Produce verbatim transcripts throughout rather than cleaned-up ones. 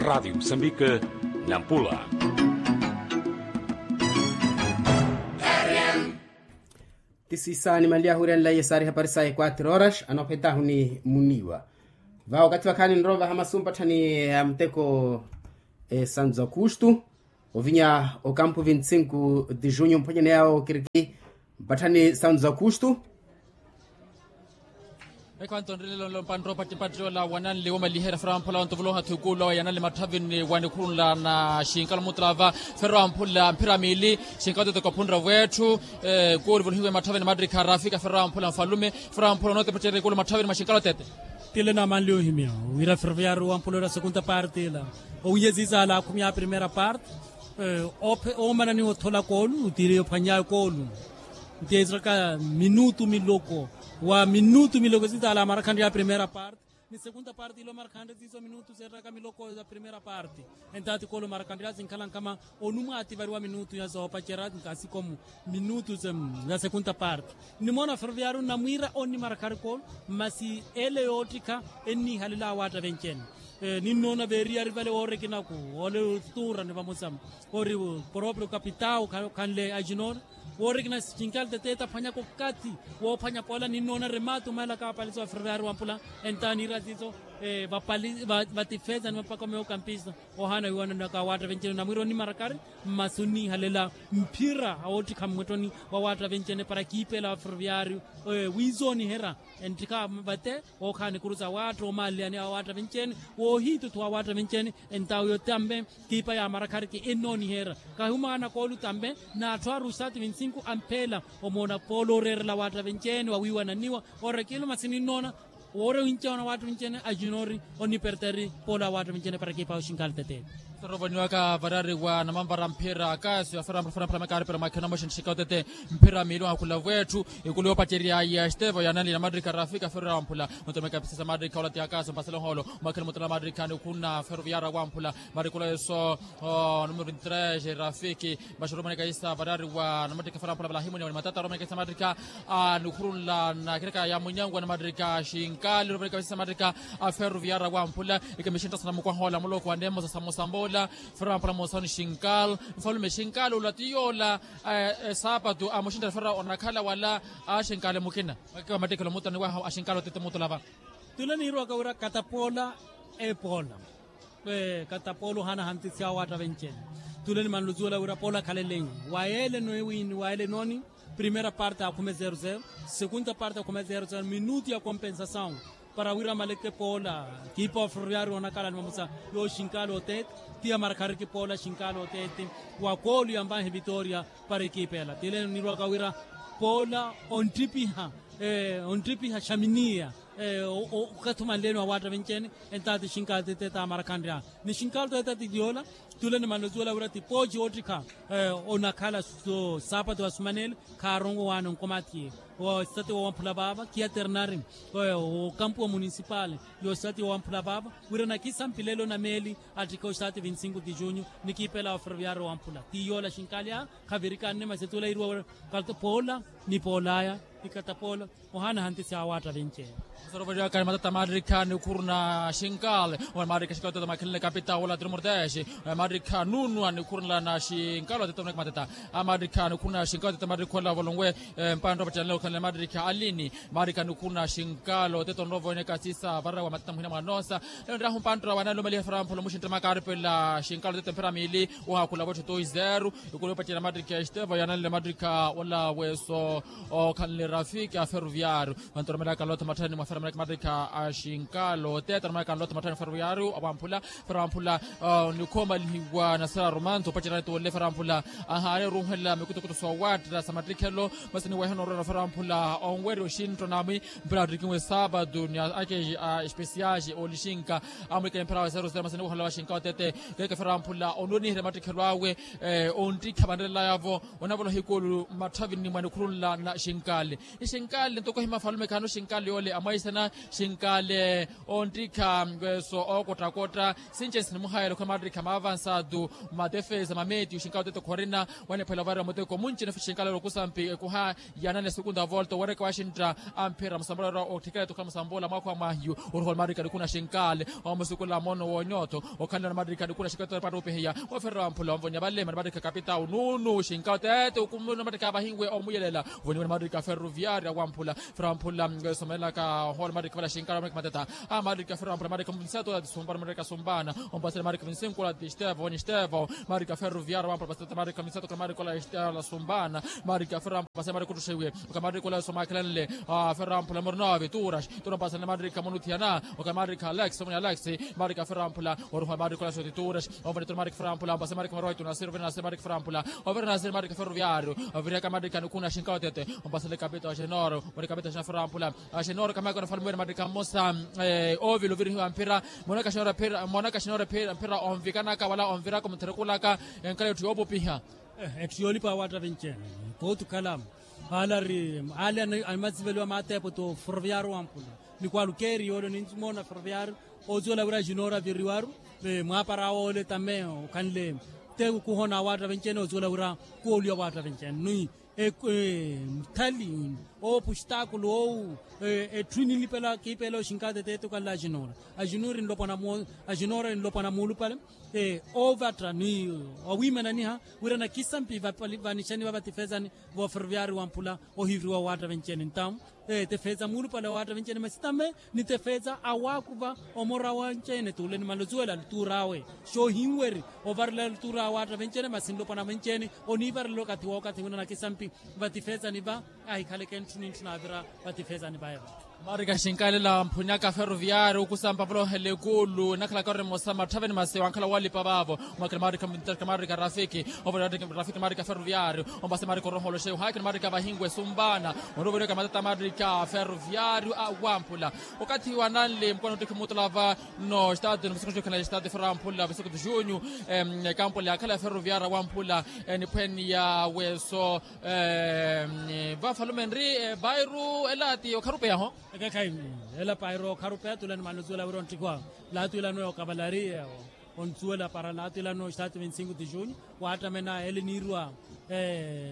Radiyo musambika, nampula. Ti siisa nimanliya ahuryanlaye saari hapari saya quatro horas anoophetaahu ni muniiwa. Vawo wakathi vakhaani nrowa vaha masu mpatthani ya muteko, santu za aukustu, ovinya okampu vinti sinku di junyu mphwanyani yawo kiriki mpatthani santu za aukustu. Ekho antonrelelo mpanttopattipattiola wananli womaliherya fera wamphula wantuvuloha thukulo yanali mathavini wanikhurunla na xinkalo mutulava. Fera wamphula mphira miili xinkalo tete kophunra wetthu. Kuuri vuluhiwe mathavini matrikha rafika fera wamphula mfalume fera wamphula onotepetterya ikulu mathavini mwa xinkalo tete. Tile namanli ohimya wira ferviari wamphula ira segunda parte ila owiye zizaala akhumi a primera parte. Omananiwa othola koolu tile yophwanyawe koolu. Nteettaka minutu miloko wa minutu miloko sitaala amarakhanre ya primera parte ni segunda parte ilo marakhanre siiso minutu seettaka miloko ya primera parte. Entaati koolu marakhanre ya sinkhala nkama onumwa ativariwa minutu ya soopacerya nkasikomu minutu ya segunda parte. Nimoona ferviari nnamwiira onnimarakhari koolu masi ele yoottikha enniihalela awaatta vencene. Ninnoona veeriyari vale woorekinaku ole tuurani vamosa ori proprio kapitau khanle ajinori woorekina xinkali tete taphwanyaka okathi woophwanya poola ninnoona rematu maela kaapalisiwa ferviari wampula. Entaani ira siiso vatifeza ni mapaka meokampisa ohaana wiiwananaka awaatta vencene namwiira onimarakari masi onniihalela mphira awoottikha mmwetthoni wawaatta vencene para kiipeela wa ferviari wiizooniherya enttikha vate wookhaani kurusa awaatta oomaaliyani awaatta vencene woohiitutthuwa awaatta vencene. Entawo yo tambe kiipa ya marakhariki ennooniherya kahumaana koolu tambe n'atthu aru sati vinti sinku ampheela omoona poola ooreerela awaatta vencene wawiiwananiwa orekilo masi ninnoona woore winceene awaatta vinceene ajunori oniperteri poola awaatta vinceene para kiipa oxinkali tete. Sorovoniwaka varari wa namanvara mphira akasi wafera mphira mphira mphira makaari pera mwakhina moxinttixika otete mphira miili wakhula vwetthu ikulu yoopacerya ya estevo yanali namattikha rafika ferera wamphula. Mutomeka pisisa mattikha olati akasi mpasela ohoolo mwakhina mutala mattikha nikhuna feruviyara wamphula. Marikula eso numero vinti tres rafiki. Maxurumaneka isa varari wa namattikha farampula valahimuni wani matata arumaneka isa mattikha a nikhurunla na kireka ya munyangu wa namattikha xinkali arumaneka isa mattikha a feruviyara wamphula. Ikemixintta sana mukwaha ola muloko wa nemosa samosambola. Farampula mosoni xinkali mfalume xinkali ola ti yola. Esapatu amuxintta fara onakhala wala a xinkali mukina. Makiwa mattikhelo mutani waha a xinkali otete mutulava. Tule niirwaka wira katapoola epoola. Katapoola ohaana hantisi awaatta venceene. Tule nimanluzuwela wira poola akhalelenyu wa yeele noowini wa yeele nooni. Primera parte akhume zero zero. Segunda parte akhume zero zero minutu ya kompensasawu para wira amaleke poola kiipa wa ferroviario onakhala ni mamosa yooxinkaala oteete. Ti yamarakhariki poola xinkaala oteete wa koolu yamvanhe vitoria para ekiipa ela tile niirwaka wira poola onttipiha onttipiha xaminiya okathi omanleeni wa waatta venceene. Entaati xinkaala tete tamarakhanrya ni xinkaala tete tiyoola. Tule nimanlozuwela wira ti pooci oottikha onakhala saapatu wasumanele khaarongo waana onkomathi osati wowamphula vaava kiaternari okampu wa munisipali yosati wowamphula vaava wira nakisampilelo na meeli attikha osati vinti sinku ti junyu. Nikiipela wa ferroviario wamphula ti yoola xinkaali aya khavirikani ni masetula iriwa wira poola ni poolaya ni katapoola ohaana hantisi awaatta venceene. Sorovolyaka ni matata maattikha nikhuruna xinkali. Maattikha xinkali tete makhenle kapita wola tiri mortexe. Maattikha nunwa nikhurunla na xinkali tete oneke matata. Maattikha nikhuruna xinkali tete maattikha ola volonwe mpantta opattiyanle okhanle maattikha alini. Maattikha nikhuruna xinkali tete onrovo oneke asisa varawa matata muhina mwanoosa. Enrahu mpantta wanalumaliha farampula muxintta makaaripela xinkali tete mphira miili. Wahakhula vottho toi zero. Ikulu yoopattiya namattikha estevo yananle mattikha ola weso okhanle rafiki a ferroviario. Vantu oromelaka lotha matthani mwa fera maleke mattikha a xinkalo tete oromelaka lotha matthani mwa ferroviario awamphula. Fera wamphula nikhoomalihiwa nasera romanto opacerani tolle fera wamphula ahaari oruuhela mikutukutu soowaattela sa mattikhelo. Masi niweha noorwela fera wamphula onwerya oxinttona mwi mpira attikinwe saapatu ni akeji a espesiaxi oolixinka amwikele mpira wa zero zero masi niweha olawa xinka otete. Keeke fera wamphula onweniherya mattikhelo awe onttikha vanrelelaya-vo onavoloha ikulu mmatthavini mwa nikhurunla na xinkali. Xinkale ntoko himafalume khano xinkale yoole amwaisana xinkale onttikha. Weso ookottakotta since sinimuhayela okhala maattikha maavansatu matefesa mameetiyu xinkale oteto khorina. Wanephwela ovarira muteko munci nafe xinkale yoole okusampi ekuha yanane segunda volta owereke waxintta amphira musambula ora otthikela etukhala musambula mwaakho wa mwahiyu. Oruha ole maattikha nikuna xinkale omusukula mono wonyotho okhanle ole maattikha nikuna xinkale oteto patta opihiya. Oferera wamphula omvonya vale mani maattikha kapitau nunu xinkale oteto okumuna maattikha vahinwe omuyelela. Voniwene maattikha ferroviaria wamphula ferroviaria wamphula. Somelaka ohole maattikha vale xinkale omelaka mateta. A maattikha ferroviaria wamphula maattikha munsatu ati sumbana maattikha sumbana ompasele maattikha vinsinkulo ati estevo voni estevo maattikha ferroviaria wamphula paseta maattikha vinsatu kula maattikha ola estevo la sumbana. Maattikha ferroviaria wamphula paseta maattikha ottuxiwe. Oka maattikha ola somakhelanle ferroviaria wamphula mornovi turas turo pasele maattikha monuthiyana. Oka maattikha alex omoni alex maattikha ferroviaria wamphula oruha maattikha ola soti turas. Ovene turo maattikha ferroviaria wamphula ompasele maattikha moroi tunasiri ovene nasiri maattikha ferroviaria wamphula. Overe nasiri maattikha ferroviaria wamphula overe aka maattikha nikuna xinkale otete. Ompasele kapita wa xenoro moni kapita xenoro ferroviaria wamphula. Xenoro kamaka onafalumiwene maattikha mmosa. Oovila ovirihiwa mphira monaka xenoro mphira monaka xenoro mphira onvikanaka wala onviraka omutherekulaka enkhala yootthi yoopupiha. Etthu yoolipa awaatta venceene kootukhala. Alari ale animaziveliwa maateepo to ferroviaria wamphula ni kwalukeeri yoole ninzimoona ferroviaria ozuwela wira xenoro aviriwaru mwaapara awe ole tame okhanle te kuhona awaatta venceene ozuwela wira kuwoliwa awaatta venceene ni mthali oopustakulu owu. Etthu ninlipela kiipela oxinkaate teeto kanle axinora axinora enlopwana muulupale. Oovatta ni owiimananiha wira nakisampi vanixaniva vatifezani vooferoviari wamphula ohiviriwa owaatta venceene ntamu. Tefeza muulupale owaatta venceene masi tame ni tefeza awaakuva omora wenceene tuule ni malozuwela lutuur'awe xoohinweri ovarela lutuur'awe owaatta venceene masi nlopwana venceene oniivarela okathi wookathi wina nakisampi vatifezani va ahikhaleke ntthu ni ntthu naavira vatifezani vaye va. Maarika xinkaalela mphunyaka ferroviario okusampa volohela ekuulu enakhalaka ori emosa matthaveni masi wankhala walipa vaavo. Mwakela maarika mvintarika maarika rafiki ovolola rafiki maarika ferroviario ompase maarika orohola oxeyo haakina maarika vahinwe sumpana. Onroverika matata maarika ferroviario awamphula okathi wananle mukwana ottikhi muutula vano stadio ni musikuxukhala stadio ferroviario wamphula visukutu junio. Ekampo lyakhala ferroviario awamphula eniphwene ya weso. Vafalume nri pairu ela ti okharupeya ho. Ekekhayi ela pairu okharupeya tula ni manozuwela wira onttikhiwa laatu ilano ya okavalari. Ontsuwela para laatu ilano staatu vinti cinco de junio waattamena ele niirwa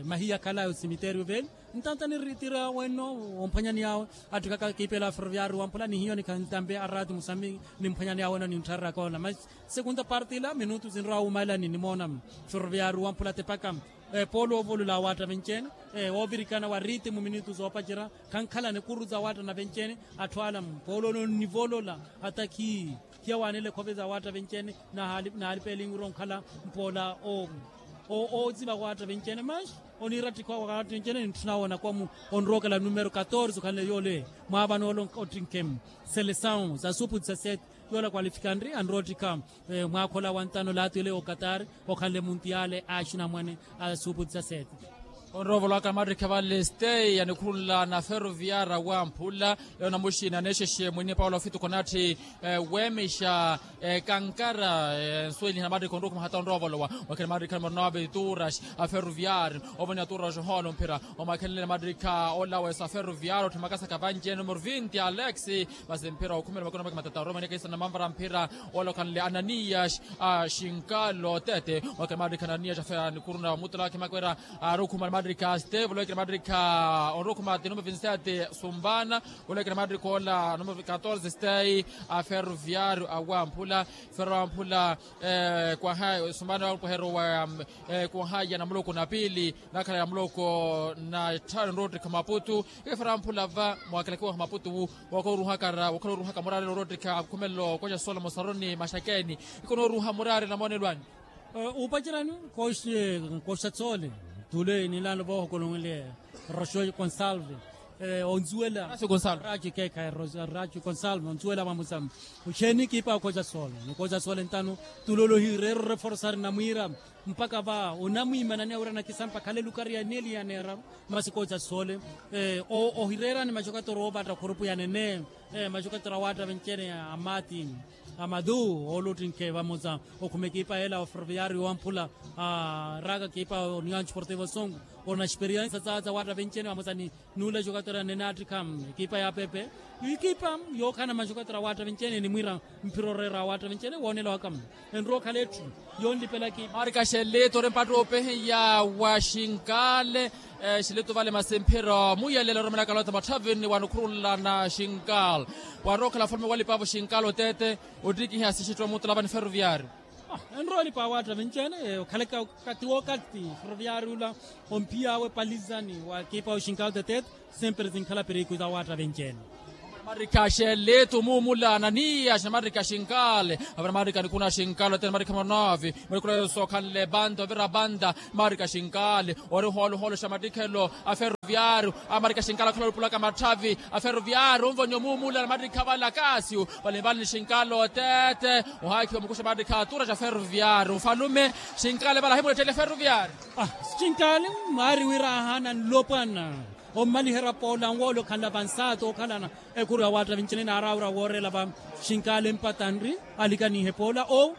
mahiya khala ya osimiterio veli. Ntanta nirritira wenno omphwanyani yawe attikaka kiipela ferroviario wamphula ni hiyo nikhantambe araati musambi nimphwanyani yawe wenno nintthararakona masi segunda parte ila minutu sinrowa wumalani nimoona ferroviario wamphula tepaka. Poolo oovolola awaatta venceene oovirikana wa riitimu minutu zoopacerya khankhalana ekuru za awaatta na venceene. Atthu ala mpoolo onivolola atakhi khiyawaanela ekhove za awaatta venceene. Naalipeelinwira onkhala mpoola oozima awaatta venceene manxi oniira attikhiwa awaatta venceene nintthuna woonakomu onrookela numero katorze okhanle yoole mwaavanoole ottinkemu selesawu za supu disasete. Yoole akwalifikanri anroottikha mwaakhola wa ntano laatwile okatari okhanle muntiyaale a axinamwane a supu disasete. Onroovolowa kamaattikha vale stay anikhurunla na ferroviara wamphula. Eyo namuxina neexexe mwini paulo fituko natthi weemexa kankara nsuweliha maattikha onrukhuma hata onroovolowa. Wakhina maattikha numero nove turas a ferroviario ovoniha turas ohoona omphira. Omwakhenlene maattikha ola wesa ferroviario otthimakasaka vanci numero vinti alex. Masi mphira okhumela makina maki matata oromene kaisana manvara mphira. Olokhanle ananiyas a xinkalo tete. Wakina maattikha ananiyas afera nikhuruna mutula wakhina makwera arukhuma maattikha steve olowekina maattikha orukhuma ti numero vinsete sumbana. Olowekina maattikha ola numero katorze stay a ferroviario awamphula. Ferro wamphula kwaha sumbana wamphula wa kwaha ya namuloko na piili nakhala ya muloko na tthano nroottikha maputu. Ikefera wamphula va mwakelakiwa maputu wu wokhala oruhaka muraari noroottikha khumelelo koxa solo mosaroni maxakeni. Ikonoruha muraari namoonelo anyu. Upacerani koxa tsole tule nilano vohokolonwele roxo consalve onzuwela raxo consalve onzuwela vamusambu. Oxeeni kiipa okoxa sole nokoxa sole ntano tulolohi reero reforsari namwiira mpaka va onamwiimananiya wira nakisampa khale lukari ya neli ya neeraru. Masi koxa sole ohireerani maxokatoro oovatta khurupu ya nene maxokatoro awaatta venceene amaati. Amadu ooluttinkhe vamosa okhuma ekipa yeela wa ferroviario wamphula, raaka ekipa oniwanci portivo songo, ori na experiensa saaza waatta venci-ene vamosa ni nuula jokatora nenaattikha ekipa ya pepe. Ekipa yookhala na majokatora waatta venci-ene enimwiira mphira oreera waatta venci-ene woonela waka. Enrowa okhala etthu yonlipela ekipa. Marika xelito ori mpatta opehiya wa xinkale. Xilito vale masi mphira muyelela oromelaka lota matthavini wa nikhurunla na xinkalo. Warookhala falume walipa-vo xinkalo tete. Ottikiha sixitto mutula vani ferroviario. Enrowa olipa waatta venci-ene okhalaka okatti wookathi ferroviario ula. Omphiy'awe palizani wa ekipa wa xinkalo tete. Sempre sinkhala piriku za waatta venci-ene. Marika xelito mumula naniya xinamarika xinkale. Avira marika nikuna xinkalo tene marika manovi. Murikula yoso khanle banda ovira banda. Marika xinkale ori hooluhoolu xa mattikhelo a ferroviario. A marika xinkale akhala olupulaka matthavi a ferroviario onvonya omuumula na mattikha vale akasiu. Vale vale ni xinkale otete. Ohaakhiwa mukusha mattikha atura xa ferroviario nfalume. Xinkale vale ahimulettelela ferroviario. Xinkale maari wira ahaana nlopwana. Ommaliherya poola nwoole okhanla vansaata okhalana. Ekhuru ya waatta vinci-ene naaraawira wooreela va xinkale mpata nri. Alikanihe poola owu.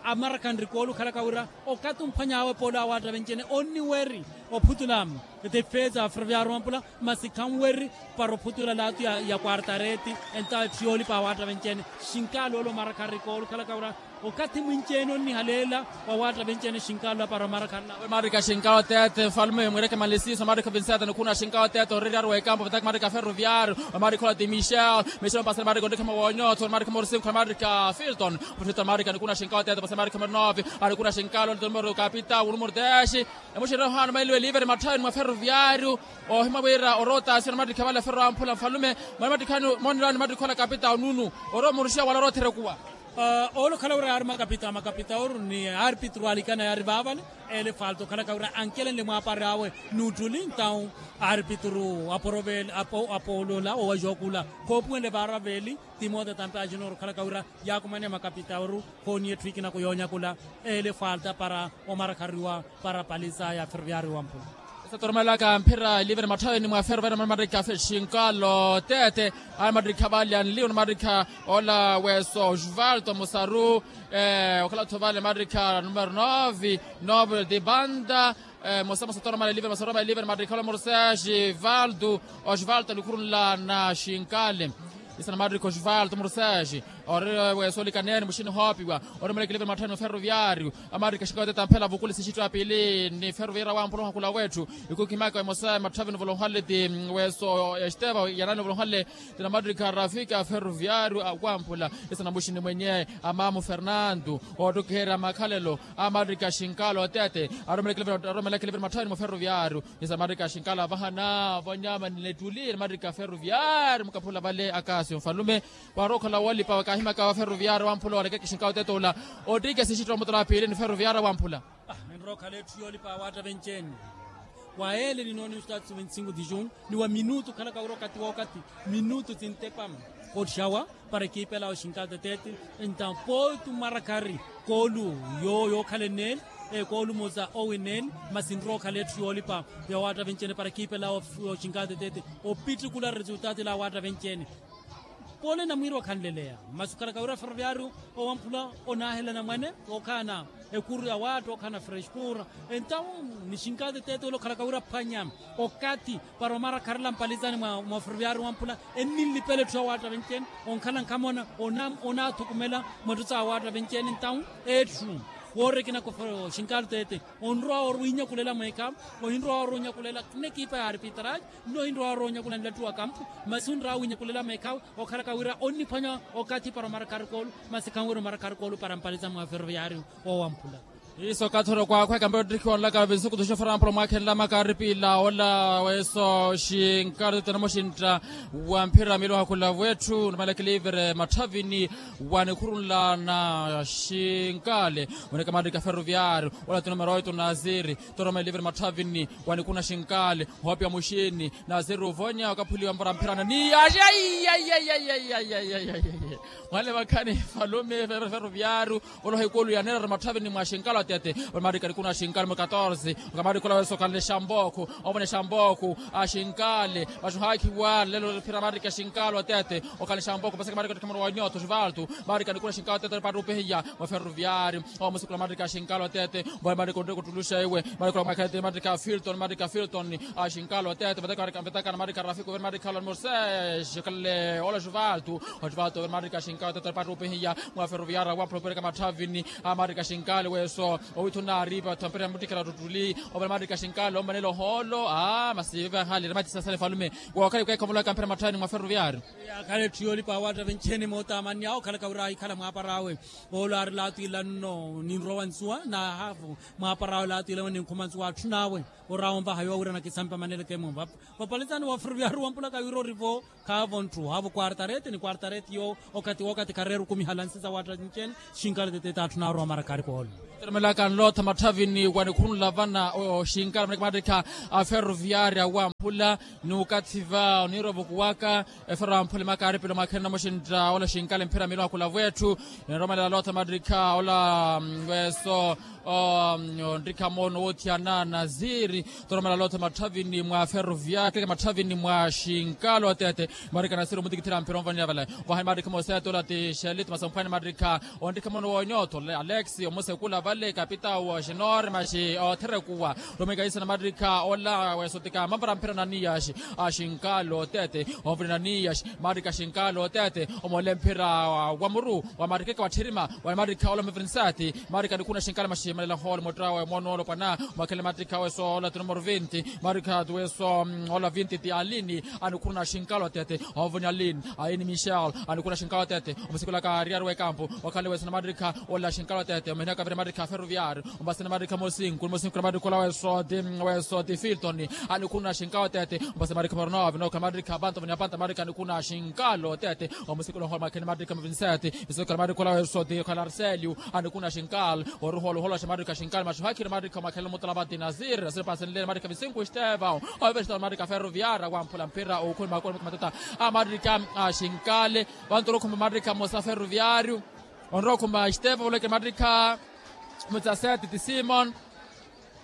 Amarakha nri koolu okhalaka wira okathi omphwany'awe poola ya waatta vinci-ene onniweri ophutula. Tifeza ferroviario wampula masi khanweri para ophutula laatu ya kwartareeti. Entawo etthu yoolipa ya waatta vinci-ene xinkale oolo omarakha nri koolu okhalaka wira okathi mwinci-ene onnihaleela. Wa waatta vinci-ene xinkalo apara omarakha nla. Marika xinkalo tete nfalume mwiireke malisiso marika vinseeta nikhuna xinkalo tete oreriaru wa ekampo vataki marika ferroviario. Marika ola ti michel. Michel opasani marika onrikhama woonyotho marika morsinko marika filton. Filton marika nikuna xinkalo tete opasani marika morinovi. Anikuna xinkalo nlito numero kapita unumero tesi. Emuxirira ohaana mailiwe liveri matthavini mwa ferroviario. Ohima wira orotasiyana mattikha vale ferro amphula nfalume. Mwa mattikhani monelani mattikhola kapita ununu. Oromuruxiya wala orotherekuwa. Oolo okhala wira yaari makapita makapita oru ni arpitru alikana yaari vaavale. Ele falta okhalaka wira ankelenle mwaapari awe nuuttuli ntawu arpitru apoolola owajookula khoopuwenle vaara veeli. Timoteo tampe ajunior okhalaka wira yaakumaniya makapita oru. Khooniya etthu ikinako yoonyakula ele falta para omarakhariwa para palisa ya ferroviario wampula. Esa toromelaka mphira ilivene matthaveni mwa ferroviario mamatikha xinkalo tete. Ayi matikha vale anliwo na matikha ola weso osvaldo musaru. Okhala-tho vale matikha numero nove. Nove de banda. Mosamosa toromela ilivene matikha ola morse osvaldo. Osvaldo alikhurunla na xinkale. Isa na matikha osvaldo morse ori weso olikaneni muxini hoopiwa. Oromelaka ilivene matthaveni mwa ferroviario. Amarika xinkalo tete amphela vukule sixitto ya piili ni ferroviario wampula ohakula wetthu. Ikukhimaka emosa matthaveni ovolonhale ti weso esteva yanani ovolonhale. Ti namatikha rafika ferroviario wampula. Isa na muxini mwenye amamu fernando oottukiherya makhalelo. Amarika xinkalo tete aromelaka ilivene matthaveni mwa ferroviario. Isa amarika xinkalo avahana vonyama ninettuli ni matikha ferroviario mukaphula vale akasio nfalume. Waarookhala woolipa wakaahimaka wa ferroviario wamphula oolekeke xinkalo tete ola. Ottike sixitto mutula wa piili ni ferroviario wamphula. Enrookhala etthu yoolipa ya waatta venci-ene. Wa ele ni nooni ustaatsi vinti-sinku di june ni wa minutu okhalaka wira okathi wookathi minutu sintepa. Ottixawa para ekipa ela oxinkalo tetete. Entawo pooti omarakhari koolu yookhala eneli. Koolu mosa owineli. Masi enrookhala etthu yoolipa ya waatta venci-ene para ekipa ela oxinkalo tetete. Opittikula resultado ela ya waatta venci-ene. Pole namwiiri wakhanleleya masi okhalaka wira ferroviario owamphula onaahelana mwane. Okhalana ekuru ya waatta okhalana freskura. Entawo ni xinkalo tetete ole okhalaka wira phwanya okathi para omarakharela mpalizani mwa ferroviario wamphula. Enninlipela etthu ya waatta venci-ene onkhala nkhamona onaathukumela mwa etthu sa waatta venci-ene entawo etthu woorekinaka xinkalo tetete. Onrowa ori winyakulela mweekhamu ohinrowa ori onyakulela n'ekipa ya arpitrage. Nno ohinrowa ori onyakulela nlattu wa kampu. Masi onrowa winyakulela meekhamu okhalaka wira onniphwanya okathi para omarakha arikoolu. Masi khanwira omarakha arikoolu para mpaliza mwa ferroviario. Owamphula iso okathi ori okwakhweka ambe ottikhiwa onlaka vinsuku tuxofora amphula omwaakhenela maka aripila ola weso xinkalo tete namoxintta. Wa mphira miili ohakula wetthu namalekele ivere matthavini wa nikhurunla na xinkale. Oneka maarika ferroviario ola ti numero oito nasiri. Toroma iliveri matthavini wa nikuna xinkale. Ohoopiwa muxini nasiri ovonya okaphuliwa mpora mphirana ni ayi ayi ayi. Mwale vakhani falume ferroviario. Oloha ikulu yaneerera matthavini mwa xinkale. Tete. Omarika nikuna xinkalo mu katorse. Omarika olaweso okhanle xambookhu. Ovona xambookhu. Axinkale. Maxuhaakhiwa lelo phira marika xinkalo tete. Okhanle xambookhu paseke marika otikhamoro wa nyoto xivaltu. Marika nikuna xinkalo tete paati upihiya. Mwa ferroviari. Omusikula marika xinkalo tete. Mbohe marika onreka ottuluxa iwe. Marika omakhalete marika filton marika filton. Axinkalo tete. Vetakana marika rafiko veri marika ola murse. Xikhalele ola xivaltu. Oxivaltu veri marika xinkalo tete paati upihiya. Mwa ferroviari wa pulopeleka matthavini. Amarika xinkale weso. Owitthuna aripa thampira muttikela tuttuli. Ovela marika xinkale ommanela ohoolo. Aa masi vevahali rematisasala efalume. Wookhala ikaikhamulaka mpira matthavini mwa ferroviari. Akhala etthu yoolipa awaatta vencheni mootamanni awo okhalaka wira ahikhala mwaapara awe. Oolo aari laatwila nno ninrowa nsuwa na haafu. Mwaapara awe laatwila nno ninkhuma nsuwa atthu nawe. Orawa onvaha yoowirana kisampa maneleke mumva. Vapalesani wa ferroviari wampulaka wira orivo. Khaavo ntthu haavo kwartareti ni kwartareti yo. Okathi wokathi khareera okumihala nsi za watta ncene. Xinkale tete taatthuna arowa marakari koolo. Teremelaka nlootha matthavini wanikhunula vana oxinkala maneke mattikha. A ferroviari awamphula ni okathi va oniira ovukuwaka. Efero amphula emakaaripelo mwakhene namoxintta ola xinkale mphira miilu akula vwetthu. Ninromelela nlootha mattikha ola weso. Onrikha moono woothiyana naziri. Toromela lootha matthavini mwa ferroviari matthavini mwa xinkalo tete. Marika nasiri omutikithira mpira onvaniya vale. Vahani marika moseto lati xelito masamphwani marika. Onrikha moono woonyoto alex omusekula vale kapitao xinore maxi otherekuwa. Romwikaisana marika ola wesotika mampara mpira naniyaxi. Axinkalo tete. Onvani naniyaxi. Marika xinkalo tete. Omoole mphira wa muru wa marika eka watthirima. Wala marika ola mavirinsati. Marika nikuna xinkala maximalela hoolo muttrawe mono olopwana. Mwakhele marika weso ola ti numero vinti. Marika weso ola vinti ti alini. Anikuna xinkala otete. Ovoni alini. Aini michel. Anikuna xinkala otete. Omusikulaka ariari wekampu. Wakhale weso na marika ola xinkala otete omehenaka vira marika ferroviari. Ombasina marika mosinku mosinku na marika ola weso ti weso ti filton. Anikuna xinkala otete. Ombasina marika moronove noka marika panto voni apanta marika anikuna xinkala otete. Omusikula ohola mwakhele marika mavinsete. Isokhala marika ola weso ti okhala arselio. Anikuna xinkala. Oruhola ohola xa marika xinkala maxuhakhire marika mwakhele mutala vati nasiri nasiri pasenlele marika visingu estevao. Ovestao marika ferroviara wamphula mpira okhuni makoni matata. A marika axinkale. Vantu orokhuma marika mosa ferroviario. Onrokhuma estevao oleke marika. Mutsasete ti simon.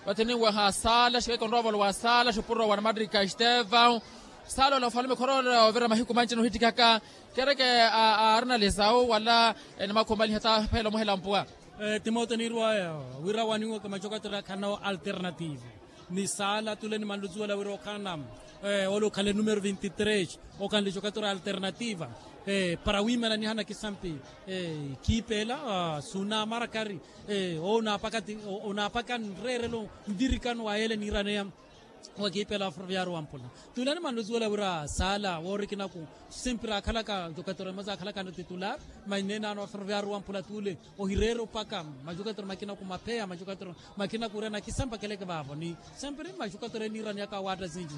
Vathi ninweha sala xikeke onroovolo wa sala xupuro wa namarika estevao. Sala ola ofalume khoroola ovira mahiku manci nohittikaka. Kereke aarina lisau wala. Nimakhumaliha taphela omuhela mpuwa. Timote niirwaya wira waniwaka macokattira akhana alternative. Ni sala tule nimanluzuwela wira okhana. Ole okhale numero vinti tres. Okhanle cokattira alternativa. Para wiimela nihana kisampi. Kiipela suuna marakari. Onaapaka nreerelo nvirikano wa yeele niiraneya. Wakiipela ferroviari wampula. Tule nimanluzuwela wira sala woorikinaku. Sempira akhalaka jokattira emosa akhalaka no titular. Maineenano wa ferroviari wampula tule. Ohireera opaka majukatero makina kumapheya majukatero makina kurena kisampakeleke vaavo ni sempiri majukatero eniiraniyaka awaatta sinci.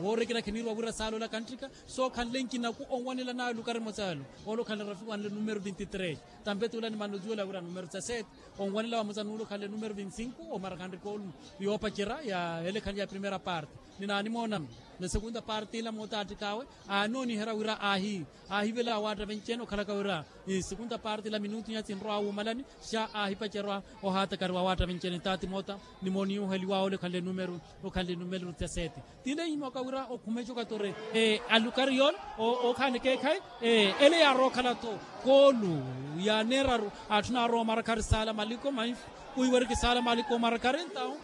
Woorekina khiniirwa wira saala ola kanttika sookhanle nkinaku onwanela nawe lukari mosa elo. Ole okhanle rafiku anle numero vinti tres. Tampe tuula nimanno zuwela wira numero dezasete. Onwanela wa mosa nuula okhanle numero vinti sinku omarakhanrika olu. Yoopacerya ya elekhanle ya primera parte. Ninaanimoona. Na segunda parte ila mootaattikaawe aanooniherya wira aahi aahivela awaatta venci-ene okhalaka wira. Segunda parte ila minutu nya sinrowa wuumalani xa aahipacerya ohaatakariwa awaatta venci-ene taati moota. Nimooniiheliwa ole okhanle numero okhanle numero dezasete. Tile ihimmwaka wira okhume jokattore alukari yoole. Okhaani keekhayi ele yaarowa okhala-tho koolu. Yaaneeraru atthu naarowa omarakhari saala maliko manfi kuiweriki saala maliko omarakhari ntawo.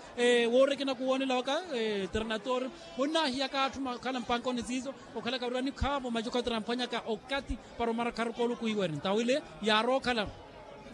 Woorekina kuwoonela waka. Ternator onnaahiyaka atthu okhala mpankoni siiso okhalaka wira nikhaavo majokattore amphwanyaka okathi para omarakhari koolu kuiweri ntawo ile yaarowa okhala.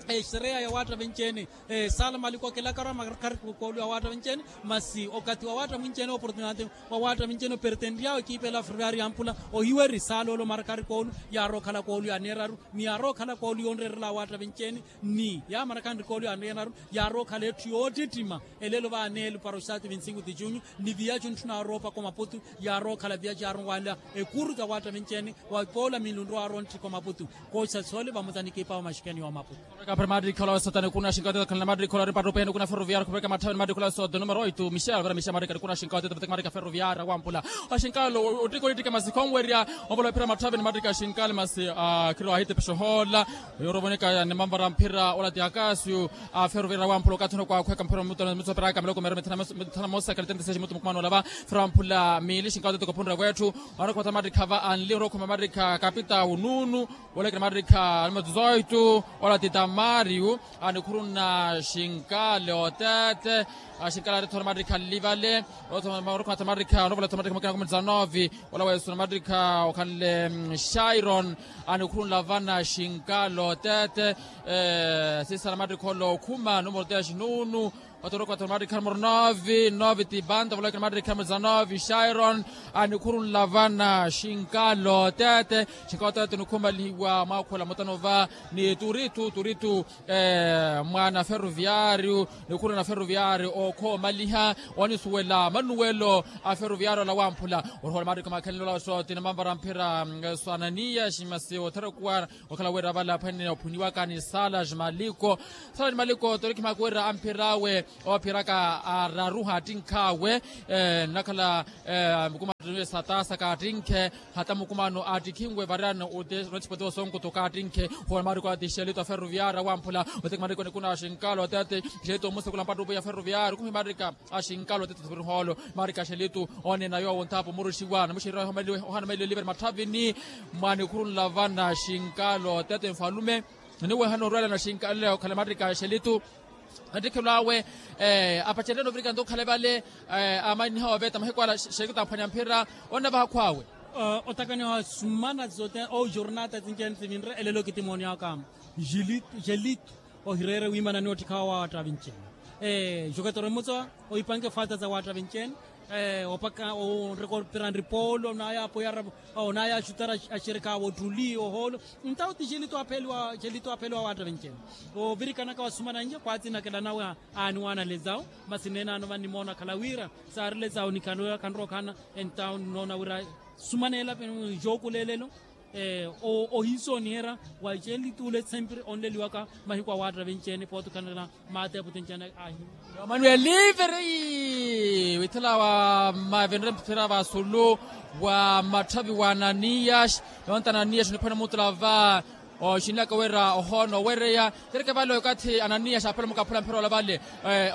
Exereya ya waatta venci-ene. Saala maliko akelakara marakhari koolu ya waatta venci-ene. Masi okathi wa waatta mwinci-ene oportunati wa waatta mwinci-ene opertenryawe kiipela ferroviari yamphula ohiweri saala ole omarakhari koolu yaarowa okhala koolu yaaneeraru. Ni yaarowa okhala koolu yoonreerela awaatta venci-ene ni yaamarakhanri koolu yaaneeraru. Yaarowa okhala etthu yoottittima elelo vaaneelo para oxaati vinti sinku ti junyu. Ni viyacu ntthu naarowa opaka omaputu yaarowa okhala viyacu yaaronwalela ekuru za waatta venci-ene. Wa poola miilunru aarowa ntthika omaputu. Kooxa soole vamosa ni kiipawa maxikeni ya omaputu. Para matrikha olawe sote nikuna xinka otete khanle matrikha olari mpattu pene kuna ferroviario khupeka matthave ni matrikha olawe sote numero oitu michel vera michel matrikha nikuna xinka otete vateke matrikha ferroviario awampula. Oxinka lo ottikha olittike masi khonwerya. Onvolophera matthave ni matrikha xinka le masi akhiro ahitepexo hoola. Yorovoneka ni manvara mphira ola ti akasio a ferroviario awampula okathi onokwakhweka mphira mitsoperaka miloko mero mithana mosa kalitente seis mutu mukumano olava. Ferroviario awampula miili xinka otete kophunre wetthu. Anokhoma mattikha va anli orokhoma mattikha kapita ununu. Olekere mattikha numero dezoito ola ti tamario. Anikhuruna xinkale otete xinkale atethora mattikha nlivale. Orokhoma mattikha onovola thora mattikha mukina kumi dezanove. Ola weesuna mattikha okhanle shairon. Anikhurunla vana xinkale otete sisala mattikha ola okhuma numero dex nunu. Otoroka otoro mattikha numero nove nove ti banda volokera mattikha numero dezanove shairon. Anikhurunla vana xinkalo tete xinkalo tete nikhumalihiwa mwakhula mutano va ni turitu turitu. Mwana ferroviario nikhuruna ferroviario okhomaliha onisuwela manuwelo a ferroviario ola wamphula. Orohola mattikha makhenle ola sote ni manvara mphira so ananiya ximasi othera okuwana. Okhala wira vala aphwene ophuniwaka ni salas maliko. Salas maliko torikhimaka wira amphir'awe oophiraka araru hattinkh'awe. Nnakhala mukumano satasa kaattinkhe hata mukumano aattikhinwe variyani. Onothipotiwa sonkuto kaattinkhe hoona maariko ati xelito a ferroviario awamphula. Oteki maariko nikuna xinkalo tete xelito omusekula mpattupu ya ferroviario khuhi maarika a xinkalo tete tupiri hoolo. Maarika xelito oneena yoowo nthaapo muruxiwa namuxereriwa ohana mailo elive ni matthavini. Mwanikhurunla vana xinkalo tete nfalume. Niwehana orwela na xinkalo okhala maarika xelitu. Nattikhelwawe apacererya novirika nto okhale vale. Amanniha oveta mahiku ala xelitu amphwanya mphira. Onnavaha khwawe. Otakaniha sumana zote ou jornata zinjeni sivinre elelo kitimooni aka. Xelitu ohireere wiimana ni ottikhawa wa waattavinci ene. Joketoro emutsowa ohipanke fata za waattavinci ene. Opaka onreka opira nripoolo onaya apoyara onaya axutara axerekawa ottuli ohoolo. Ntawo ti xelitu apheliwa xelitu apheliwa waattavinci ene. Ovirikanaka wasumana nje khwatsinakela nawe. Aani waanalezawo masi neenano vannimoona akhala wira saarilezawo nikhanrowa khanrowa okhana. Entawo ninoona wira sumaneela jookuleelelo. Ohiisooniherya wa xelituule sempiri onleliwaka mahiku awaattavinci ene pooti okhanela. Maateepo tinci ene ahi. Manuel liveri withela wa mavenre mphira vasulu wa matthavi wa ananias. Yonta ananias niphwene omutula va oxinlaka wira ohoona owereya. Kereke vale okathi ananias aphela mukaphula mphira ola vale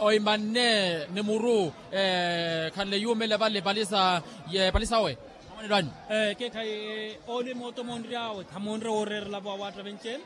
oimanne ni muru. Khanle yuumela vale palisa ye palisa owe. Amanelo anyu. Keekhayi ole mooto moonry'awe khamoonre wooreerela vo awaattavenci ene.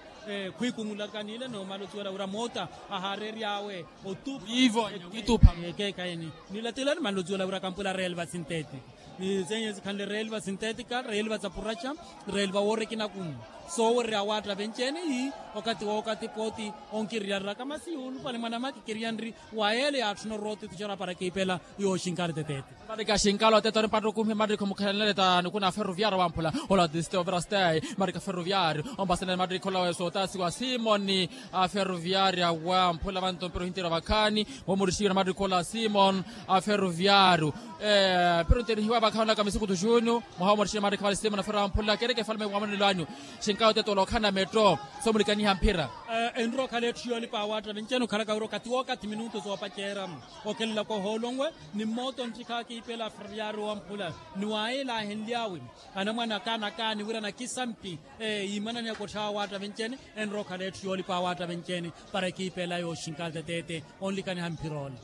Khwikumulaka nile noomala osuwela wira moota ahaareery'awe otupa. Wiivo wiitupha. Keekhayi ni nilatilani manla osuwela wira kampwela reelva sinteti ni zenye sikhanle reelva sintetika reelva sa puraxa. Reelva woorekina kumu soowererya awaattavenci ene ii okathi wookathi pooti. Onkiriyareraka masi yuulupale mwanamaki kiriyanri wa yeele yaatthuna orooto ituxera para kiipela yooxinkale tetete. Mattiki a xinkalo tete ori mpattuku mhi mattiki omukhalanele ta nikuna ferroviario wamphula ola tiste overa stay. Mattiki a ferroviario ompasenele mattiki olawe sootasiwa simoni a ferroviario wamphula vanto mpira ohintira vakhaani. Womurixiwira mattiki ola simoni a ferroviario. Mpira ontirihiwa vakhaani olaka misukutu junio mwaha womurixiwira mattiki vale simoni a ferroviario wamphula kereke falume wamonelo anyu. Xinkalo tete ola okhana metto somulikaniha mphira. Enrookhala etthu yoolipa awaattavenci ene okhalaka wira okathi wookathi minutu soopaceera. Okhelelaka ohoolonwe ni mmooto nttikha kiipela ferroviario wamphula ni wayeela ahenly'awe anamwane akaani akaani wira nakisampi. Yiimananeyaka otthawa awaattavenci ene enrookhala etthu yoolipa awaattavenci ene para ekiipela yooxinkala tetete onlikaniha mphir'ola.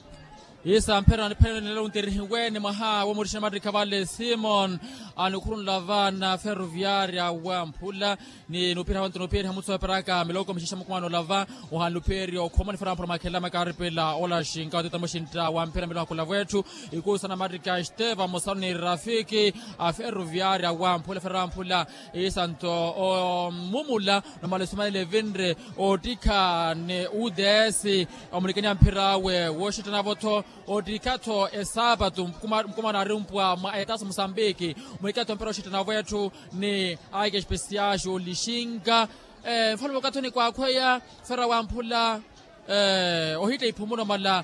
Isa mphira niphenenelo ontirihiwe ni mwaha womurixina mattikha vale simoni anikhurunla vaana ferroviaria wamphula. Ni nupiha wantu nupiha mutsu eparaka miloko mixexa mukumano lava ohanlupheriya okhoma nifera mphura makhelama kaaripela ola xinka oteta muxintta wa mphira miloko akulavu etthu. Ikusa na mattika esteva musanu ni rafiki a ferroviaria wamphula ferroviaria wamphula. Isanto omumula nomala esumanela evinre ottikha ni uds omunikaniha mphira awe woxittanavo-tho. Ottikha-tho esaapatu mukumano ari mpwa mwa etasa musambiki muhikatho mpira oxittanavo etthu ni aike espesiaxu lixinka. Nfalume okathi onikwakhweya fera wamphula ohitta iphumuno mala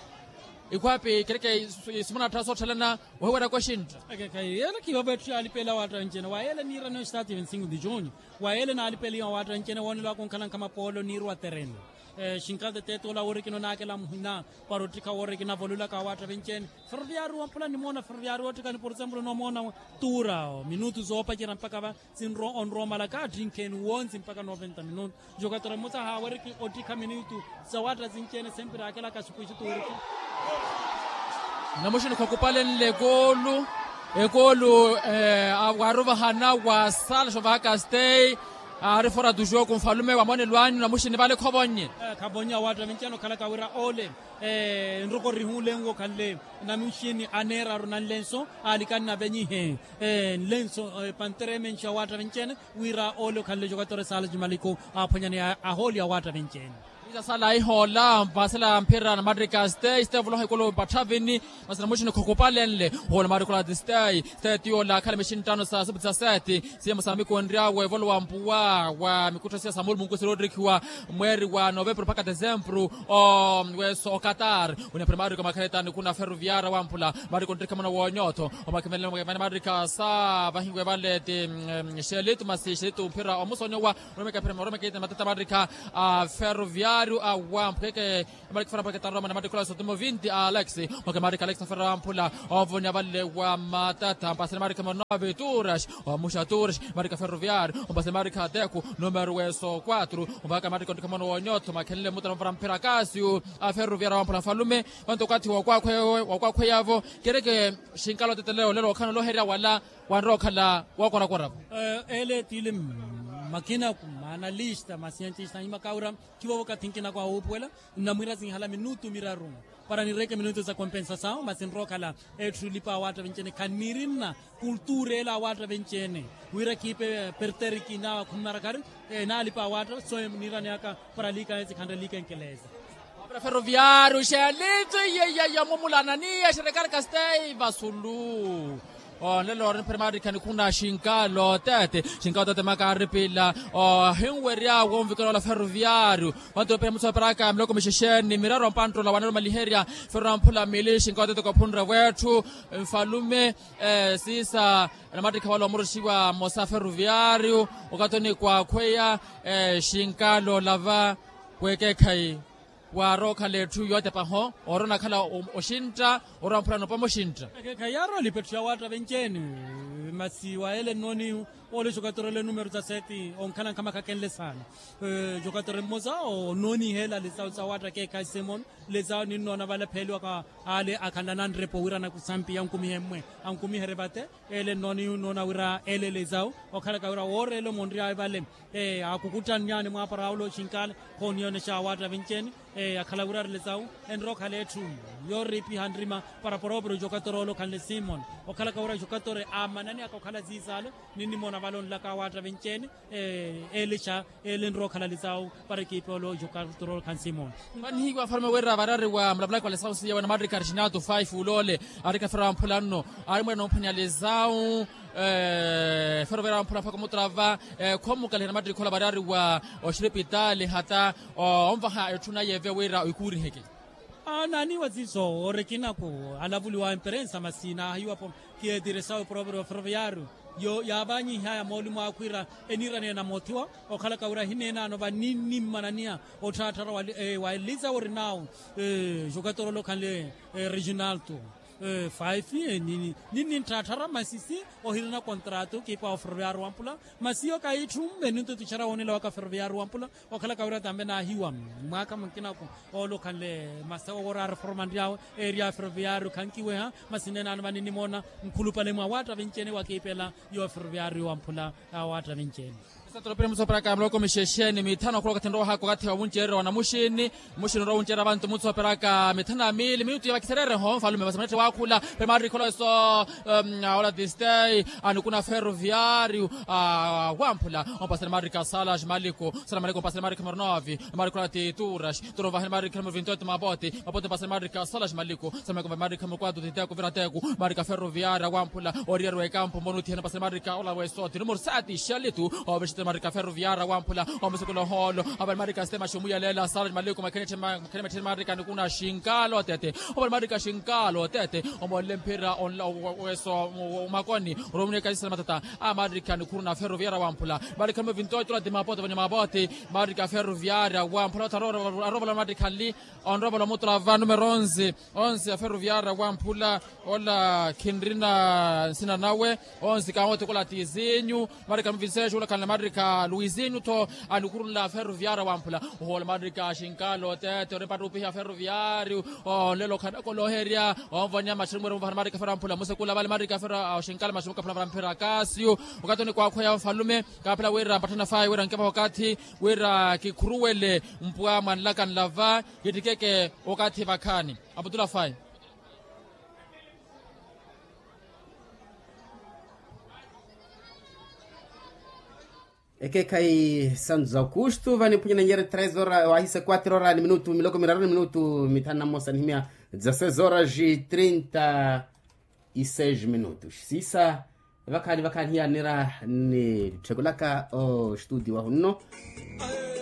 ikhwapi kereke isumana attha sootthalana ohiweraka oxintta. Yeela khiivo vetthu yaalipela waatta ncene wayeela niiraniwa estati vincinco de junio wayeela naalipeliwa waatta ncene woonelwaka onkhalanka mapoolo niiruwa tereno. Xinkalta eteto ola wori kinonaakela muhina para ottikha wori kinavololaka awaatta vinci-ene. Ferroviario wamphula nimoona ferroviario ottikha ni por exemplo nomoona tuura minutu zoopacerya mpakha va sinrowa onrowa omalaka attinkheeni wontsi mpakha noventa minutu. Jokatora mmosa haaweriki ottikha minutu sawaatta sinci-ene sempre aakelaka xikwiixi tuuriki. Namuxini khukupalenle ekoolu. Ekoolu waarovahana wa sala xovahaka stay. Aari fora tu joku nfalume wa monelo anyu namuxini vale khovonnye. Khavonnye awaatta vinci-ene okhalaka wira ole nroko rihulenwe okhanle namuxini aneeraru nanlenso aalikani navenyihe nlenso panteremenxi awaatta vinci-ene. Wira ole okhanle jokatora esala jimaliku aaphwanyani ahooli awaatta vinci-ene. Isa sala ihoola mpasela mphira na matrika stay stay voloha ikulu patthavini. Masi namuxini khukupalenle hoola matrikola ti stay stay tiyola akhala mixini ttano sa supu sa seti. Siyemo sa mikonryawe volowa mpuwa wa mikuttho siya sa mulumunku siroottikhiwa mweeri wa novempuru mpakha desempuru. Weso okatar wina phira matriko makhaletani kuna ferroviara wamphula matriko nttikha muna wonyotho omakhimelele matrika sa vahiwe vale ti xelitu masi xelitu mphira omusonyowa. Oromeka phira oromeka ita matata matrika a ferroviario a wamphweke. Matrika fera matrika taroma na matrika ola sotimo vinti a alex. Oke matrika alex fera wamphula ovonya vale wa matata mpasene matrika mono avituras omuxa turas matrika ferroviario ompasene matrika teku numero weso quatro. Ompaka matrika ontika mono wonyotho makhenle mutana mvara mphira kasio a ferroviario wamphula nfalume. Vantu okathi wokwakhweyavo kereke xinkala otetelelo lelo okhana oloherya wala wanrowa okhala wokorakora-vo. Ele tili makinaku maanalista masientista anyuma kawira khivovo okathi nkinako awuupuwela nnamwiira sinhala minutu miraru para nireke minutu za kompensasawu masi nrowa okhala etthu lipa awaatta vinci-ene khanirinna kultura ele awaatta vinci-ene wira khiipe perteriki nawa khummarakari. Naalipa awaatta so niiraneyaka para liikanye sikhanre liikanye keleza. Ferroviario xeelitso iye iye iye mumula ananiya xerekaraka stay vasulu. Onlelo ori mphira maarikhani khuna xinkalo tete xinkalo tete makaaripila ohinwerya wonvikela ola ferroviario. Vantu opira mutsoperaka miloko mixexeni miraru ampanttula wanelo maliherya. Ferro amphula mili xinkalo tete kophunre wetthu nfalume siisa. Anamattikha wala omuruxiwa mmosa ferroviario okathi onikwakhweya xinkalo lava wekeekhayi. Waarowa okhala etthu yootepaho oorona akhala oxintta orowa mphurano opama oxintta. Ekeekhayi yaarowa lipa etthu ya waatta venci-ene. Masi wa ele nnoonihu ole jokatora ole numero za seti onkhala nkhamakhakenle saana. Jokatora mmosa onnooniha ele alisawu sa waatta ekeekhayi simon. Lezawo ninnoona vale pheeliwaka ale akhanla nanrepo wira anakusampiya ankumihe mmwe ankumiherye vate. Ele nnoonihu nnoona wira ele lezawo okhalaka wira wooreela omonry'awe vale akukuttannyani mwaapara awula oxinkale khooniyonexa awaatta vinci-ene. Akhala wira ari lezawo enrowa okhala etthu yooriipiha nrima para poroporo jokatora ole okhanle simon okhalaka wira jokatora aamananiyaka okhala ziizaale. Ninnimoona vale onlaka awaatta vinci-ene. Elixa ele nrowa okhala lisawu para ekiipi ole ojokatura ole khansi moona. Vanihiwa afalume wira varari wa mulavulaki wa lisawu siya wa namatrika arixinatu five uloole. Arikafera wamphula nno aari mwira nomphwanya lisawu. Fero vira wamphula mpaka omutrava khomukaliha namatrika ola varari wa oxiripitali hata onvaha etthu naye ve wira oikuuriheke. Naaniiwa siiso ori ekinaku alavuliwa emperensa masi naahiwapo. Kiyeetire sawe proverio ferroviario yaavanyihaya mooli mwakhwiira eniiraneya na moothiwa okhalaka wira ahineenaano vaninimmananiya otthaattharwa wa eliza orinawo. Jokatorolo okhanle reginalto five ninnintthaatthara masisi ohirina kontrato kiipa wa ferroviario wampula. Masi yo kayitthu mmenunto tuxara woonela waka ferroviario wampula. Okhalaka wira tambe naahiwa mwaakha munkinaku oole okhanle masawa wooraara formanry'awe. Eria ferroviario khankiweha masi neenaano vaninimoona nkhulupale mwa waatta vinci-ene wakiipela yo ferroviario wamphula. Awaatta vinci-ene. Satolopire mutsoperaka muloko mixexeni mithano akhula okathi nrowa haka okathi wa munceerera wa namuxini. Muxini nrowa wunceerera vantu mutsoperaka mithano ya miili minutu ya vakiserereho nfalume masi manette waakhula. Pemaari kholoso awola tistei anikuna ferroviario wamphula. Ompasele maari ka sala ximaliku sala maliku ompasele maari ka mornovi. Maari khola ti turax turax vahele maari ka morvintoto mapoti mapoti ompasele maari ka sala ximaliku sala maliku ompasele maari ka morkwatu titeku virateku. Maari ka ferroviario wamphula oriyari wekampu mboni uthihena ompasele maari ka ola wesoti numero sati xalitu. Marika ferroviara wamphula omusukula ohoolo. Avali marika sistema xumuyaleela sara maliku makhene makhene makhene marika nikuna xinkalo tete. Ovali marika xinkalo tete. Omolle mphira onla weso omakoni. Oromuni ekasisela matata a marika nikhuruna ferroviara wamphula. Marika muvintootola ti mapote vanya mapote. Marika ferroviara wamphula ota arovala marika nli. Onrovola omutula va numero onze. Onze ya ferroviara wamphula. Ola khinrina nsina nawe. Onze kawote kola tizinyu. Marika muvinseexu olakhanle marika luizinyu tho. Anikhurunla ferroviara wamphula. Ohoola marika xinkalo tete ori mpattupiha ferroviariu. Onlela okhanakoloherya onvonya maxirumweru muvahana marika ferro wamphula musekula vale marika ferro. Oxinkala maxirumweru kaphula vara mphira kasiu. Okathi onikwakhweya ofalume. Kaphela wira mpatthana fayi wira nkevaha okathi wira kikhuruwele mpwa mwanlaka nlava. Kittikeke okathi vakhaani. Aputula fayi. Ekekhayi santos aukustu vaniphunye nanyere tres hora wahise quatro hora ni minutu miloko miraru ni minutu mithanu na mmosa nihimya. Dezasseis horas e trinta e seis minutos sisa. Vakhaani vakhaani hiyanira ni tthekulaka o studio wahunno.